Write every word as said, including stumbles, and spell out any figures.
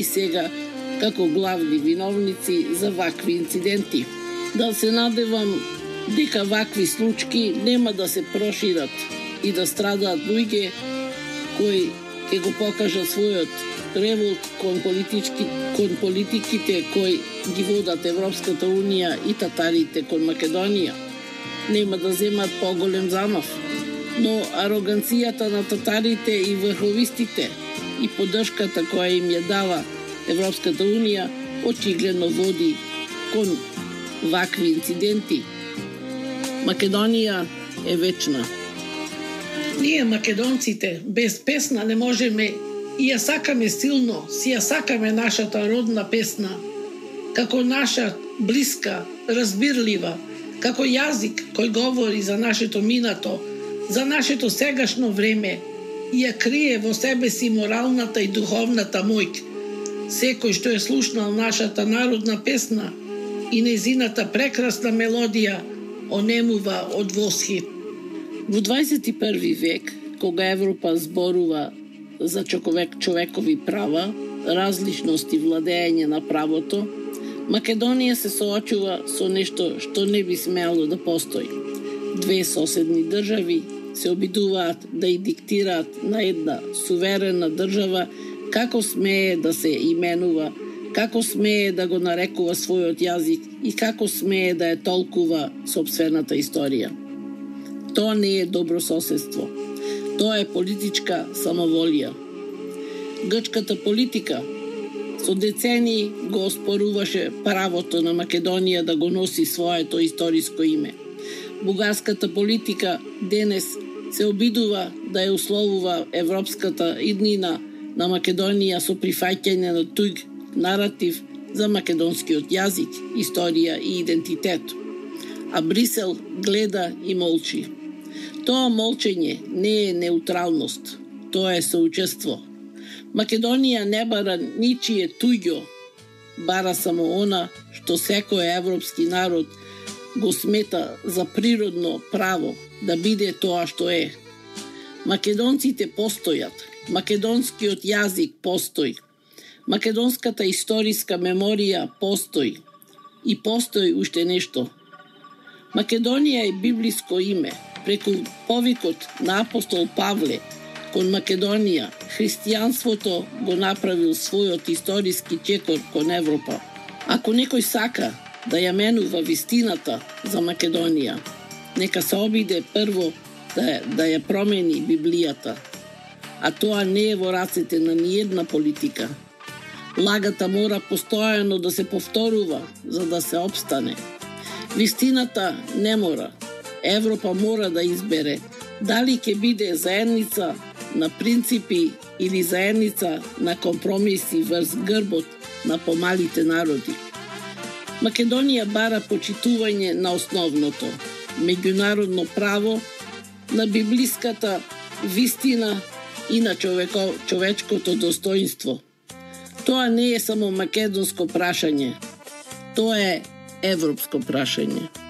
и сега како главни виновници за вакви инциденти. Да се надевам дека вакви случаи нема да се прошират и да страдаат луѓе кои ќе го покажат својот револт кон политички кон политиките кои ги водат Европската унија и татарите кон Македонија. Нема да земат поголем замав, но ароганцијата на татарите и врховистите и поддршката која им ја дава Европската унија очигледно води кон вакви инциденти. Македонија е вечна. Ние македонците без песна не можеме и ја сакаме силно, си ја сакаме нашата родна песна, како наша блиска, разбирлива, како јазик кој говори за нашето минато, за нашето сегашно време и ја крие во себе си моралната и духовната моќ. Секој што е слушнал нашата народна песна и нејзината прекрасна мелодија онемува од восхит. Во дваесет и први век, кога Европа зборува за човек, човекови права, различност и владење на правото, Македонија се соочува со нешто што не би смело да постои. Две соседни држави се обидуваат да и диктираат на една суверена држава како смее да се именува, како смее да го нарекува својот јазик и како смее да ја толкува сопствената историја. Тоа не е добро соседство. Тоа е политичка самоволија. Грчката политика со децении го оспоруваше правото на Македонија да го носи своето историско име. Бугарската политика денес се обидува да ја условува европската иднина на Македонија со прифаќање на туѓ наратив за македонскиот јазик, историја и идентитет. А Брисел гледа и молчи. Тоа молчење не е неутралност, тоа е соучество. Македонија не бара ничие туѓо, бара само она што секој европски народ го смета за природно право да биде тоа што е. Македонците постојат, македонскиот јазик постои, македонската историска меморија постои и постои уште нешто. Македонија е библиско име. Преку повикот на апостол Павле кон Македонија, христијанството го направил својот историски чекор кон Европа. Ако некој сака да ја менува вистината за Македонија, нека се обиде прво да, да ја промени Библијата, а тоа не е во рацете на ниедна политика. Лагата мора постојано да се повторува за да се опстане. Вистината не мора. Европа мора да избере дали ќе биде заедница на принципи или заедница на компромиси врз грбот на помалите народи. Македонија бара почитување на основното, меѓународно право, на библиската вистина и на човеко, човечкото достоинство. Тоа не е само македонско прашање, тоа е европско прашање.